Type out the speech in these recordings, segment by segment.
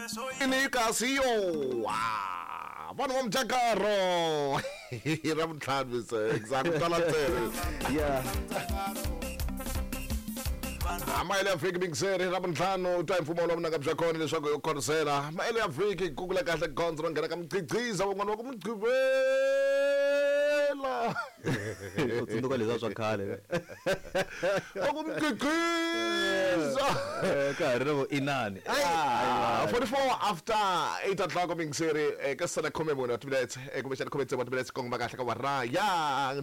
Ni kasi yo vanhu va mujakaro ra vuntlhanu se exactly twala ntsena. Yeah. Maele ya vhiki mingiseri ra vuntlhanu twa hi mfumo wa vunanga bya kona leswaku yo khorisela maele ya vhiki ku kula kahle gondzo ro nghena ka muqhiqhiza van'wana va ku muqhivela. U tsundzuka leswiya swa khale. Va ku muqhiqhiza. Ka ha ri na vo inani. 44 after 8 o'clock mingiseri ka sana khume mune wa timinetse kumbexana khume tsevu wa timinetse kongoma kahle ka wara ya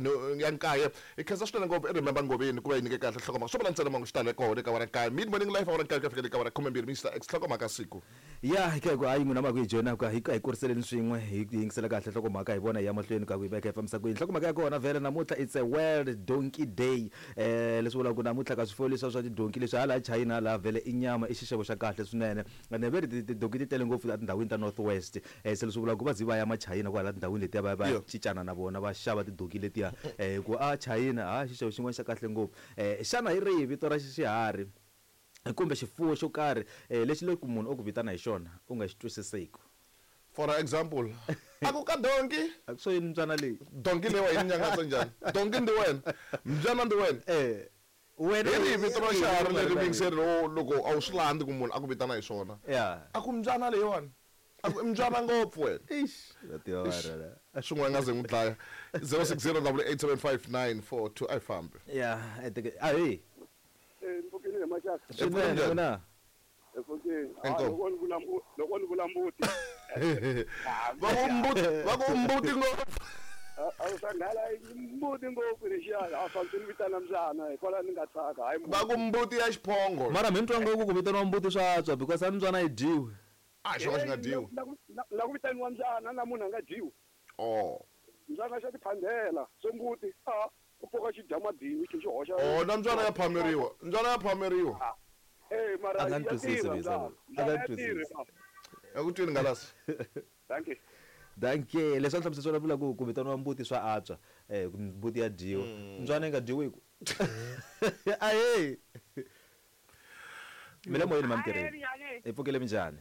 nkaye. Hi khensa swinene ngopfu i Remember Ngoveni ku va yi nyike kahle nhlokomhaka swo vula ntsena mangu xi tale kona eka wara nkaye mid morning life awara nkaye ku ya fikela eka wara 12 Mr X nhlokomhaka siku. Ya hi ku hayi n'wina ma ku hi joyina ku hi hi kuriseleni swin'we hi yingisela kahle nhlokomhaka hi vona hi ya mahlweni ka ku yi veka yi fambisa ku yini. Nhlokomhaka ya kona vhele namuntlha it's a world donkey day leswi vulaka ku namuntlha ka swifuwo leswiya swa tidonki leswi hala China hala vhele i nyama i xixevo xa kahle swinene ene ve ri tidonki ti tele ngopfu etindhawini ta North West se leswi vulaka ku va ze va ya machayina kwala tindhawini letiya va ya va ya cincana na vona va xava tidonki letiya hi ku a China ha xixevo xin'wana xa kahle ngopfu. Xana hi rihi vito ra xiharhi kumbe xifuwo xo karhi lexi loko munhu o ku vitana hi xona u nga xi twisiseki? For example, a ku ka donki. A ku swo yini mbyana leyi? Donki leyiwa yi ni nyangatsa njhani? Donki ndi wena, mbyana ndi wena. Wena Hi rihi vito ra xiharhi leri yingiseri loko a wu swi landzi ku munhu a ku vitana hi swona? A ku mbyana leyiwani. A ku i mbyana ngopfu wena. Eish, va tiva va rhela. Swin'wana nga ze n'wi dlaya. 060 875 942 a yi fambi. Ya, ahee. Mpfukeni hi maxaka. Swinene n'wina. Mpfukeni. Inkomu. Loko ni vula loko ni vula mbuti. Va ku mbuti, va ku mbuti ngopfu. A swa nghala mbuti ngopfu lexiya a fanele ni vitana mbyana hikwalaho ni nga tsaka hayi. Va ku mbuti ya xiphongo. Mara mi twa ngopfu ku vitaniwa mbuti swa antswa because a mbyana yi dyiwi. A xo ka xi nga dyiwi. Na ku vitaniwa mbyana na munhu a nga dyiwi. Oh. Mbyana xa tiphandela so mbuti a ku pfuka xi dya madini xi xi hoxa. Oh, na mbyana ya phameriwa. Mbyana ya phameriwa. Mara A nga ya ni twisisi tirha Visa mbyana. loyi. A nga Mbyana ni ya tirha, twisisi. baba. Ya ku twini Ngalasi. Thank you. Thank you. Leswi a hlamusela swona vula ku ku vitaniwa mbuti swa antswa. Ku mbuti ya dyiwa. Mbyana yi nga dyiwi ku. Ahee. Mi le moyeni mamtirheni. Hi pfukile minjhani?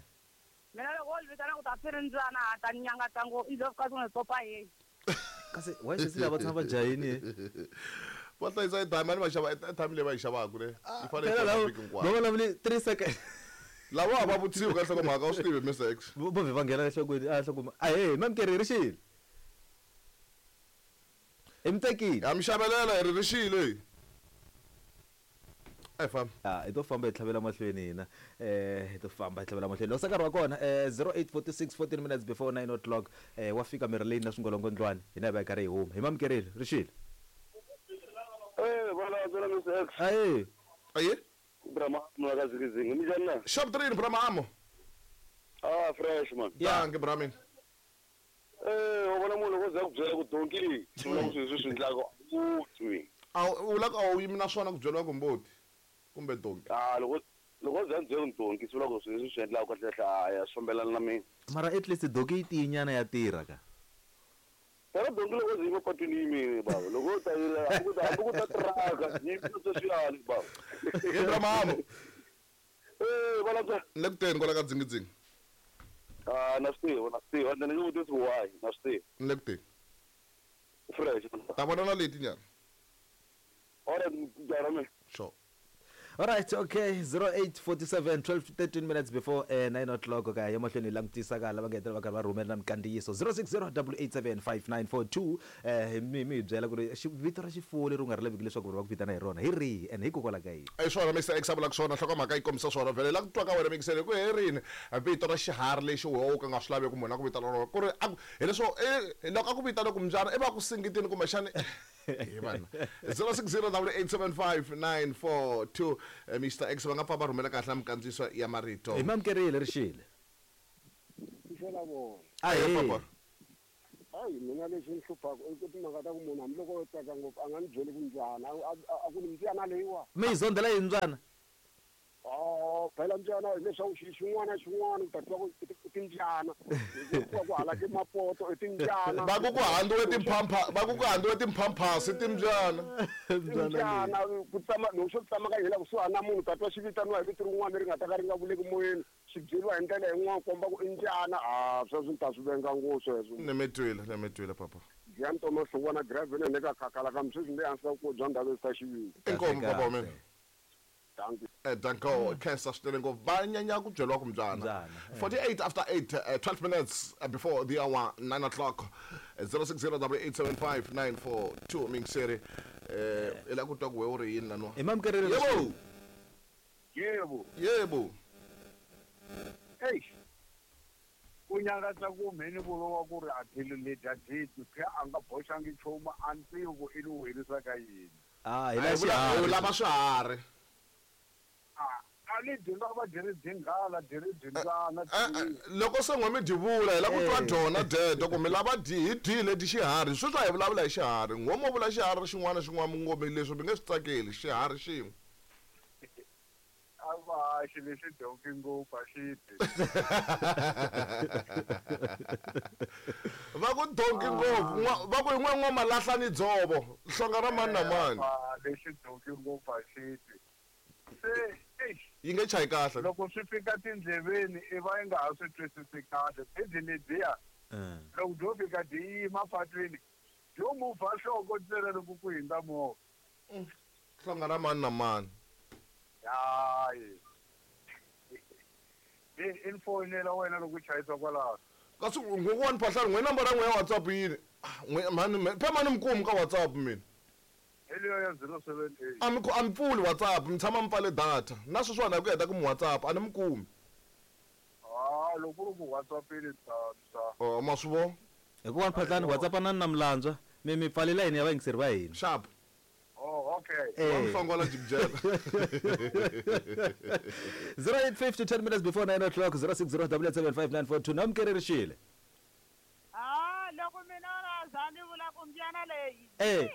Mina loko wo ni vitana ku ta swi ri mbyana ha ta ni nyangatsa ngopfu i ka swi nga tsopa yini. Kasi why sesi lava tshama va jahini? Va hlayisa airtime, a ni va xava airtime leyi va yi xavaka le. Yi fanele yi Phela xava lava vhiki hinkwayo. va vulavuli 3 seconds. Lava va vutisiwi ka nhlokomhaka u swi tivi Mr X. Vo vhe va nghena enhlokweni a nhlokweni. Ahee, mamkeri ri xile. Hi mi tekile. Ha mi xavelela hi ri ri xile. A hi fambi. Hi to famba hi tlhavela mahlweni hina. Hi to famba hi tlhavela mahlweni. Loko se nkarhi wa kona 08:46 14 minutes before 9 o'clock wa fika mirhi leyi na swingolongondzwani hina hi va hi karhi hi huma. Hi mamukerile ri xile. Vana byela Mr X. Ahee. Aye. Brahma mwa ka zikizingi. Minjhani na? Shop 3 Brahma. Ah, fresh man. Dankie Brahmin. Wa vona munhu loko za ku byela ku donki leyi, swi vula ku swilo leswi swi endlaka u twi. A u la ku a wu yimi na swona ku byeriwa ku mbuti kumbe donki. Ah, loko loko za byela ku donki swi vula ku swilo leswi swi endlaka kahle kahle a ya swi fambelana na mina. Mara at least donki yi tiyinyana ya tirha ka. Phela donki loko zi yima patwini yi yimile baba. Loko u ta yi hambi ku ta hambi ku ta tiraka yi yimile sweswiyani baba. Hi Brahma. Vana bya. Ni le ku teni kwala ka dzingidzingi. Ah, na swi tiva, na swi tiva. Ni nge vutisi why, na swi tiva. Ni le ku teni. Fresh. Ta vona na leti nyana. All right, dara me. Sure. All right, okay, 08:47 12 13 minutes before 9 o'clock ka ya mahlweni hi langutisa ka lava nga hetelela va karhi va rhumela na minkandziyiso 060 887 5942 mi mi hi byela ku ri vito ra xifuwo leri u nga ri laviki leswaku va ku vitana hi rona hi rihi and hikokwalaho ka yini. I swona Mr X a vulaka swona nhlokomhaka yi kombisa swona vhele la ku twa ka wena mingisele ku herini vito ra xiharhi lexi wehe u ka nga swi laveki munhu a ku vitana rona ku ri a ku hileswo loko a ku vitana ku mbyana i va ku singitini kumbexani hi vana 060 875 942 Mr X va nga pfa va rhumela kahle na minkandziyiso ya marito. Hi mamukerile ri xile. Xela vona. Ahee. Papa. Hayi mina lexi ni hluphaka i ku timhaka ta ku munhu hambiloko o tsaka ngopfu a nga ni byeli ku mbyana a ku ni mbyana leyiwa. Mi yi zondela yini mbyana? Oh, phela mbyana hileswaku xilo xin'wana na xin'wana u ta twa ku i timbyana. Ku ku hala ke mapoto i timbyana. Va ku ku handziwe timphampha va ku ku handziwe timphamphasi timbyana. Timbyana ku tsama loko xo tsamaka hela kusuhani na munhu u ta twa xi vitaniwa hi vito rin'wana leri nga ta ka ri nga vuleki moyeni. Xi byeriwa hi ndlela yin'wana komba ku i mbyana a sweswo ni ta swi venga ngopfu sweswo. Ni mi twile, ni mi twile papa. Giyan Thomas Hlongwana Gravel ne ka khakhala kambe sweswi ni le hansi ka ku bya ndhawu ta xiviri. Inkomu papa wa mina. Dankie. Danko khensa swinene ngopfu va nyanya ku byeriwa ku mbyana. Mbyana, 48 after 8 12 minutes before the hour 9 o'clock 06087594 mingiseri i la ku twa ku we u ri yini laniwa. Hi mamukerile Yebo. Yebo. Yebo. Eish. Ku nyangatsa ku mheni vuriwa ku ri a tlhelo leti a dyiwi phe a nga boxangi nchumu a ni tivi ku i ni werisa ka yini. Ah, hi A la hi vula- hi xiharhi. lava swiharhi. A ni dyi nga va dyi ri dyinghala dyi ri dyimbyana Loko se n'we mi dyi vula hi la ku twa dyona dyedo ku mi lava dyi hi dyile dyi xiharhi sweswi a hi vulavula hi xiharhi n'we mo vula xiharhi xin'wana na xin'wana mi ngo mi leswi mi nge swi tsakeli xiharhi xin'we. A va xi lexi donki ngopfu a xi dyi. Va ku donki ngopfu va ku yin'we n'wa malahla ni dzovo hlonga ra mani na mani. A lexi donki ngopfu a xi dyi. Se eish Yi nge chayi kahle. Loko swi fika tindleveni i va yi nga ha swi twisisi kahle bezi ledyiya loko byo fika byi yima patwini byo muvha nhloko ntsena loko ku hundza movha. Hlonga ra mani na mani. Hayi. I ni foyinela wena loko u chayisa kwalaho. Kasi ngokwani phahlani n'we nambara ya n'we ya WhatsApp yini? N'we mhani phe mani mi kumi ka WhatsApp mina. Hi leyo ya 078. A mi a mi pfuli WhatsApp mi tshama mi pfale data na sweswiwani hi ku heta ku mi WhatsApp a ni mi kumi. Ah, loko ku ri ku WhatsApp-ini ta ta. Oh, ma swi vona. Hi ku wani phahlani WhatsApp na na milandzwa mi mi pfalela yini ya vayingiseri va hina. Sharp. Oh, okay. Eh. Wa mi hlongola jikijela. 0850 10 minutes before 9 o'clock 06077594 namukeri rixile. Ah, loko mina na za ni vula ku mbyana leyi. Eh.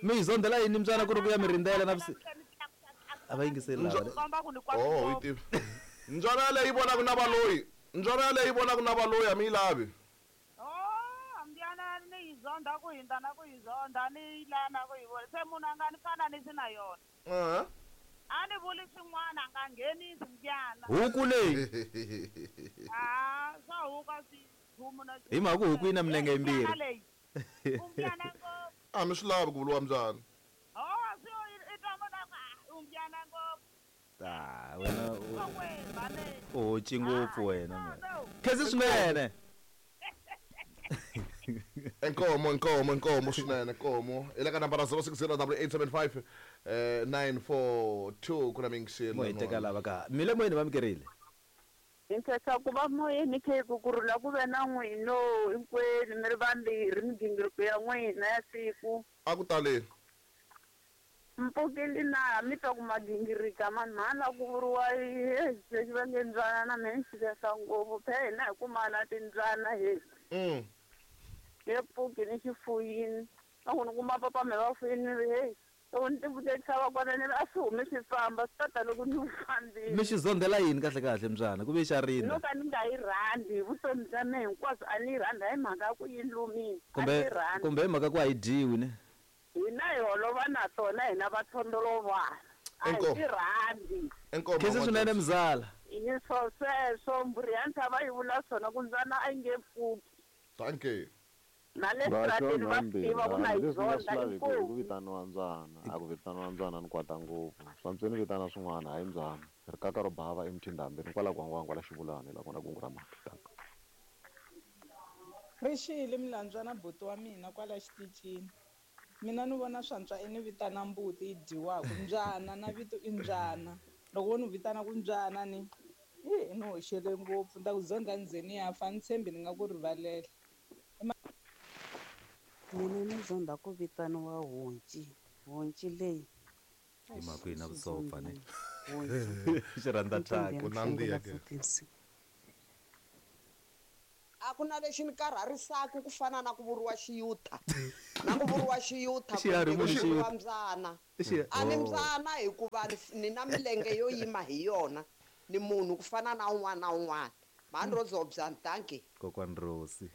Mi yi zondela yini mbyana ku ri ku ya mi rindzela na vusi. A va yingiseli lava. Komba ku ni kwata Oh, u yi tivi. Mbyana yaleyi yi vonaka na valoyi. Mbyana yaleyi yi vonaka na valoyi a mi yi lavi. Oh, mbyana ni yi zonda ku hindza na ku yi zonda ni yi la na ku yi vona. Se munhu a nga ni fananisi na yona. A ni vuli swin'wana a nga nghenisi mbyana. Huku leyi. Ah, swa huku a swi nchumu na Hi mhaka ku huku yi na milenge yimbirhi. Mbyana leyi. Umbyana ngopfu. A mi swi lavi ku vuriwa mbyana. Oh, swi i twa munhu a ku, ah, umbyana ngopfu. Ah, wena Kokwe, mhani. u hoci ngopfu wena man. Khensi swinene. Inkomo, inkomo, inkomo swinene, inkomo. Hi le ka nambara 060875 942 ku na mingiseli. Mo hi teka lava ka. Mi le moyeni va mukerile. Hi nkhensa ku va moyeni kheku ku rhula ku ve na n'wino hinkwenu mi ri vambirhi migingiriko ya n'wina ya siku. A ku taleni. Mpfukile na mi twa ku magingirika mani mhani la ku vuriwa lexi va nge mbyana na mina ni xivesa ngopfu phe hina hi kumana timbyana he. He pfuki ni xifuyini loko ni kuma papa me va fuyini ni ri hey loko ni tivutekisa va kona ni ri a swi humi swi famba swi tata loko ni fambile. Mi xi zondela yini kahle kahle mbyana ku ve xa No rinda. ka ni nga yi rhandzi hi vutomi bya mina hinkwabyo a ni yi rhandzi hayi mhaka ya ku yi lumile a ni Kumbe yi rhandzi. kumbe hi mhaka ku a yi dyiwi ne. Hina hi holova na tona hina vathondolovana a hi ti rhandzi. Khensi swinene mzala. Hi swo sweswo mbhuri ya ntshava yi vula swona ku mbyana a yi nge pfuki. Thank you. Na le strateni va swi tiva ku na yi leswi nga swi zonda laveki i ku inkomu. vitaniwa mbyana a ku vitaniwa mbyana ni kwata ngopfu swantswe ni vitana swin'wana hayi mbyana rikaka ro bava emtindhambi ri kwala gwangwangwa la xivulani la kona kungu ra mati Rixile milandzwana buti wa mina kwala xitichini. Mina ni vona swantswa i ni vitana mbuti yi dyiwaka mbyana na vito i mbyana. Loko wo ni vitana ku mbyana ni i ni hoxele ngopfu ni ta ku zonda ni ze ni ya fa ni tshembi ni nga ku rivalela. Mina ni zonda ku vitaniwa honci honci leyi. Hi mhaka ku yi na vusopfa ne. Honci. Xi rhandza thyaka. Ku nandziha ke. A ku na lexi ni karharisaka ku fana na ku vuriwa xiyuta na ku vuriwa xiyuta Xiharhi kumbe munhu ku vuriwa xiyuta. mbyana. Xi- A ni Oh. mbyana hikuva ni na milenge yo yima hi yona ni munhu ku fana na un'wana na un'wana mhani ro dzobya dankie. Kokwani Rosi.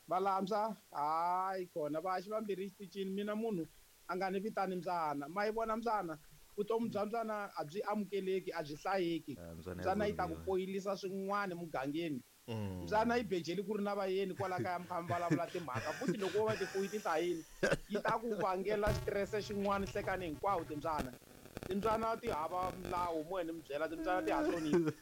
Valambya hayi kona va xi vambirhi xitichini mina munhu a nga ni vitani mbyana ma yi vona mbyana Vutomi bya mbyana a byi amukeleki, a byi hlayeki. Mbyana yi ta ku poyilisa swin'wana mugangeni. Mbyana yi bejeli ku ri na vayeni kwala kaya mi kha mi vulavula timhaka, futhi loko wo va tifuyi ti hlayini yi ta ku vangela xitirese xin'wana hlekani hinkwawo. Timbyana ti hava milawu, mo ni mi byela, timbyana ti ha hloniphi.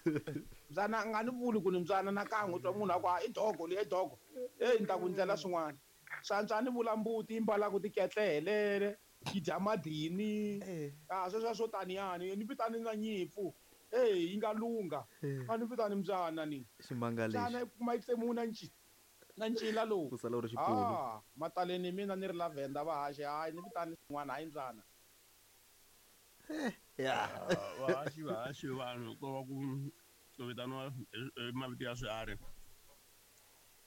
Mbyana a nga ni vuli ku ni mbyana na kan'we, u twa munhu a ku i dogo leyi, i dogo, eyi ni ta ku ndlela swin'wana. Swantswa ni vula mbuti yi mbalaku tiketlele, yi dya madini, a sweswo swo taniyani, ni vitani na nyimpfu, eyi yi nga lungha, a ni vitani mbyana ni ximanga lexi. Mbyana yi kuma yi tsemiwe na ncila lowu. Ku sala u ri xipulu. Mataleni mina ni ri la Venda va haxe, hayi ni vitani xin'wana, hayi mbyana. Vahaxi vanhu ko va ku vitaniwa hi mavito ya swiharhi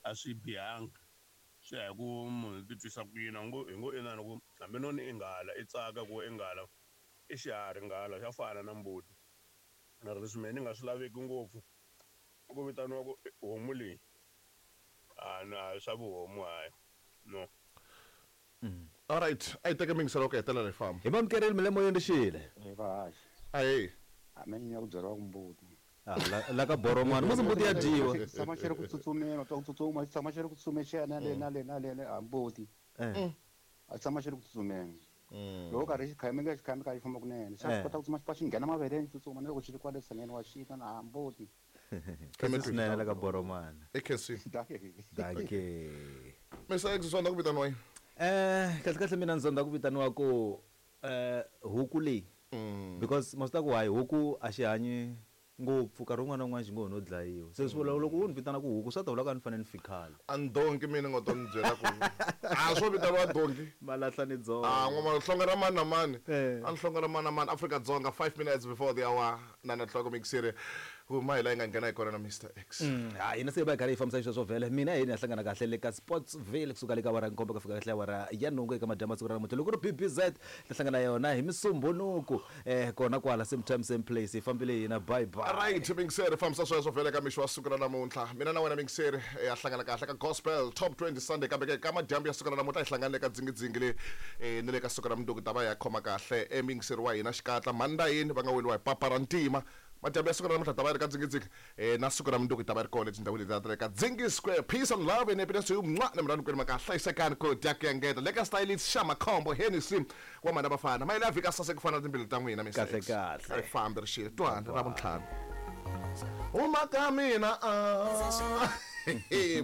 a swi bihanga, swi ya hi ku munhu ti twisa ku yini. Hi ngo inani ku hambi no ni i nghala i tsaka ku i nghala i xiharhi, nghala xa fana na mbuti. Mara leswi mehe ni nga swi laveki ngopfu i ku vitaniwa ku homu leyi, a swa vuhomu, hayi no. All right, a yi teke mingiselo ku hetelela hi famba. Hi mamukerile mi le moyeni rixile. Hi vahaxi. Ahee. A me ni ku byeriwa ku mbuti. La ka boromani musi mbuti ya dyiwa. Xi tshama xi ri ku tsutsumeni, u twa ku tsutsuma, xi tshama xi ri ku tsutsumeni xi ya na le na le na le a mbuti. A xi tshama xi ri ku tsutsumeni. Loko karhi xi khameka xi khameka xi famba kunene. Xa swi kota ku tsutsuma xi pfa xi nghena maveleni xi tsutsuma na loko xi ri kwale tshangeni wa xi twa na mbuti. Khensa swinene la ka boromani. I khensi. Dankie. Mr X, swa ku vitaniwa yini? Kahle kahle mina ndzi zonda ku vitaniwa ku huku leyi. Because ma swi tiva ku hayi huku a xi hanyi ngopfu, nkarhi wun'wana na wun'wana xi ngo ho no dlayiwa. Se swi vula loko wo ni vitana ku huku swa ta vula ku a ni fanele ni fi khale. A ni donki mina nga to ni byela ku a swo vitaniwa donki. Malahla ni dzonga. N'wa hlonga ra mani na mani. A ni hlonga ra mani na mani. Afrika Dzonga 5 minutes before the hour 9 o'clock mixere. Huma hi la yi nga nghena hi kona na Mr X. Hina se hi va hi karhi hi fambisa xisweswo vhele. Mina hi ni ya hlangana kahle le ka Sportsville kusuka le ka awara ya nkombo ku fika kahle awara ya nhungu eka madyambu ya siku ra namuntlha. Loko ku ri BBZ ta hlangana yona hi Musumbhunuku kona kwala same time same place. Hi fambile hina, bye bye. Right, mingiseri fambisa sweswo vhele ka mixo wa siku ra namuntlha. Mina na wena mingiseri ya hlangana kahle ka Gospel Top 20 Sunday, kambe ke ka madyambu ya siku ra namuntlha hi hlangana le ka dzingidzingi le ni le ka siku ra mundzuku ta va ya khoma kahle emingiseri wa hina xikatla mhandayini va nga weliwa hi papa ra ntima. Madyambu ya siku ra namuntlha ta va yi ri ka dzingidzingi na siku ra mundzuku ta va ri kona etindhawini leti ta le ka Dzingi Square. Peace and love and happiness to you. Mwa na mina kwenu maka hlayisekani ku dya ku engeta le ka stylist xa Makhombo Hennessy wa mhana vafana. Mayele ya vhika saseka ku fana na timbilu ta n'wina Mr Kahle X. kahle. A yi fambi ri xile twana ra vuntlhanu. Huma ka mina a.